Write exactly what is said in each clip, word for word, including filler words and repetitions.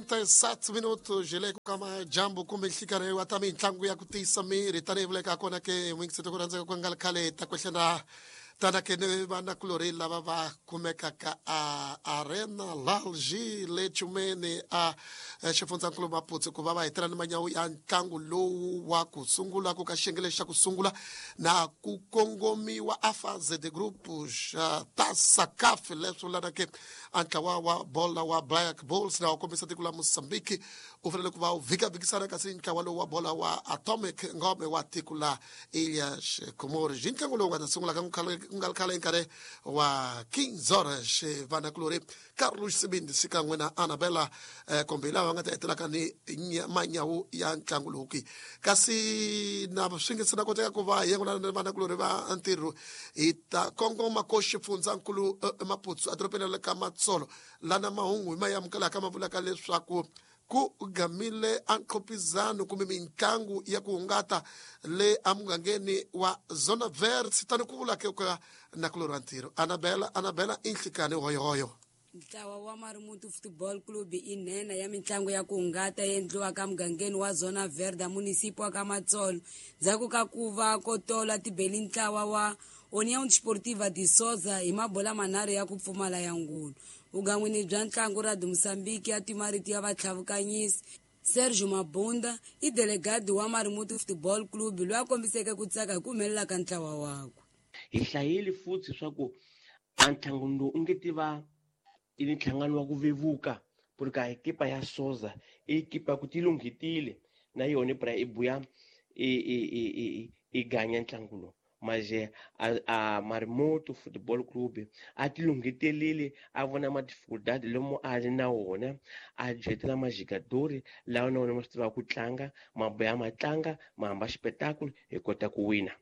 quarenta e sete minutos le kama jambo kumbe nhlikani wa ta mintlangu ya ku tiyisa miri tanihi vuleka kona ke n'wingiseti ku rhandzeka ku nga ri khale ta kwehlela tana ke ni vanakulorhi lava va kumekaka a Arena Lalji le Chumeni a xifundzankulu Maputo ku va va hetela ni manyawu ya ntlangu lowu wa ku sungula ku ka xiyenge xa ku sungula na ku kongomiwa a fase de grupos Taça CAF leswi vulaka ke a ntlawa wa bola wa Black Bulls na wa kombisa tiko la Mozambique u fanele ku va u vhikavhikisana kasi ntlawa lowu wa bola wa Atomic Ngome wa tiko la Ilhas Comores. Ntlangu lowu nga ta sungula ka ku nga ri khale nkarhi wa quinze horas vanakulorhi Carlos Sibindi xikan'we na Anabela kombe lava nga ta hetelaka ni manyawu ya ntlangu lowu ki kasi na swi nge se na koteka ku va hi yengulana ni vanakulorhi va ntirho hi ta kongoma ko xifundzankulu Maputo edorobeni ra ka Matsolo lana mahungu hi ma amukelaka ma vulaka leswaku ku gamile a nqhopizano kumbe mintlangu ya ku hungata le emugangeni wa Zona Verde tani ku vula ke ka nakulorhi wa ntirho Anabela Anabela i nhlikani hoyohoyo. Ntlawa wa Marimutu Football Club i nhenha ya mitlangu ya ku hungata endliwaka mugangeni wa Zona Verde munisipi wa ka Matsolo ndzhaku ka ku va ko tola tibeli ntlawa wa União Desportiva de Sousa hi mabola manharhu ya ku pfumala ya ngulu. Vugan'wini bya ntlangu ra Mozambique ya timarito ya vatlhavukanyisi Sergio Mabunda i delegado wa Marimutu Football Club loyi a kombiseke ku tsaka hi ku humelela ka ntlawa wakwe. Hi hlayile futhi swa ku a ntlangu lowu u nge tiva i nhlangano wa ku vevuka porque a ekipa ya Sousa i ekipa ku ti lunghetile na yona pra i buya i i i i ganya ntlangu lowu. Mas a, a Marimoto Football Club a ti lunghetelile a vona ma dificuldade lomu a ri na wona a jetela majigadori lawa na wona ma swi tivaka ku tlanga ma buya ma tlanga ma hamba xipetakulu hi kota ku wina.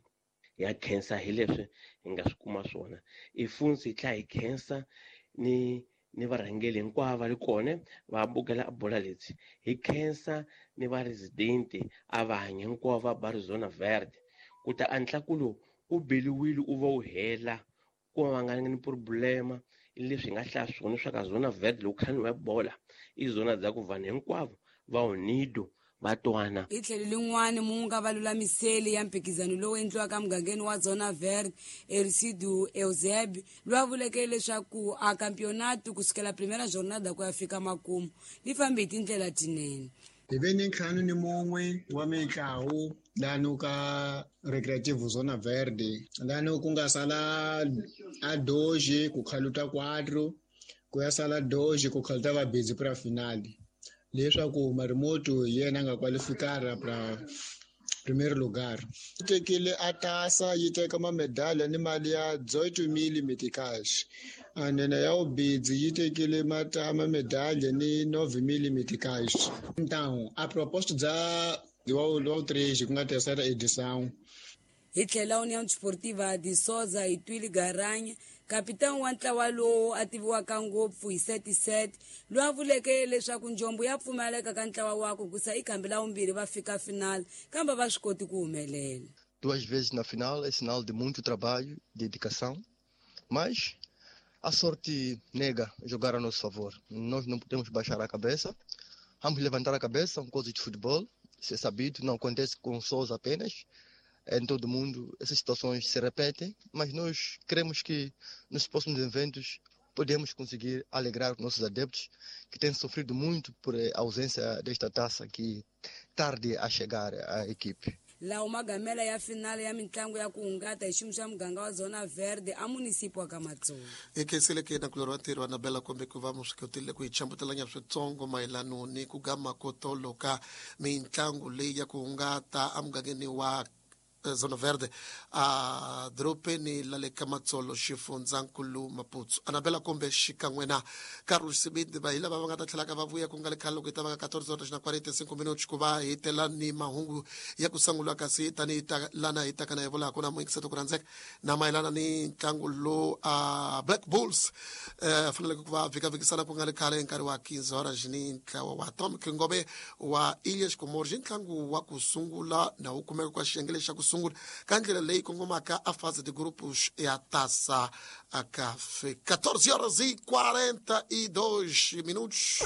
Ya khensa hi leswi hi nga swi kuma swona i funzi hi tlhela hi khensa ni ni varhangeli hinkwavo va ri kona va bukela bola leti hi khensa ni va resident a va hanya hinkwavo va ba Zona Verde ku ta a ntlangu lowu u beliwile u va u hela ku va nga ni problema leswi hi nga hlaya swona swa ka Zona Verde loko khaniwa bola i zona dza ku vanhu hinkwavo va unido va twana. Hi tlhelo lin'wani munga va lulamiseli ya mphikizano lowu endliwaka mugangeni wa Zona Verde Ercido Eusebio loyi a vuleke leswaku a campeonato kusukela primera jornada ku ya fika makumu li fambe hi tindlela tinene. Hi ve ni ntlhanu ni mun'we wa mitlawu lani ka Recreativo Zona Verde lani ku nga sala a doze ku khaluta quatro ku ya sala doze ku khaluta va busy pra finale leswaku Marimoto hi yena a nga qualificara pra primeiro lugar. Yi tekile a tasa yi teka mamedalha ni mali ya dezoito mil meticais and then ya ubidzi yi tekile mamedalha ni nove mil meticais. Então a proposta dza wa três ku nga terceira edição. Hi tlhela União Desportiva de Sousa hi Twili Garanya kapitani wa ntlawa lowu a tiviwaka ngopfu hi sete sete loyi a vuleke leswaku njombo ya pfumaleka ka ntlawa wakwe kusa i khambi la vumbirhi va fika final kambe va swi koti ku humelela. Duas vezes na final é sinal de muito trabalho, dedicação, mas a sorte nega jogar a nosso favor. Nós não podemos baixar a cabeça, vamos levantar a cabeça, são coisas de futebol, isso é sabido, não acontece com Sousa apenas. Em todo mundo essas situações se repetem, mas nós cremos que nos próximos eventos podemos conseguir alegrar os nossos adeptos que têm sofrido muito por a ausência desta taça que tarde a chegar à equipe. Lawa magamela ya finale ya mitlangu ya ku hungata hi xiyimo xa muganga wa Zona Verde a munisipi wa ka Matsolo. Hi khensile ke nakulorhi wa ntirho Anabela kombe ku va mu swi kotile ku hi chambutelanya switsongo mayelano ni ku gama ko tolo ka mitlangu leyi ya ku hungata emugangeni wa Zona Verde a dorobeni la le ka Matsolo xifundzankulu Maputo. Anabela kombe xikan'we na Carlos Sibindi va hi lava va nga ta tlhelaka va vuya ku nga le khale loko hi ta va ka quatorze horas na quarenta e cinco minutos ku va hi tela ni mahungu ya ku sungula kasi tanihi ta lana hi taka na hi vulaka na muyingiseti ku rhandzeka na mayelana ni ntlangu lowu a Black Bulls eh faneleke ku va vhikavhikisana ku nga le khale hi nkarhi wa quinze horas ni ntlawa wa Atomic Ngome wa Ilhas Comores ntlangu wa ku sungula na wu kumeka kwa xiyenge lexa ku sungula ka ndlela leyi kongomaka a fase de grupos ya Taça CAF. quatorze horas e quarenta e dois minutos.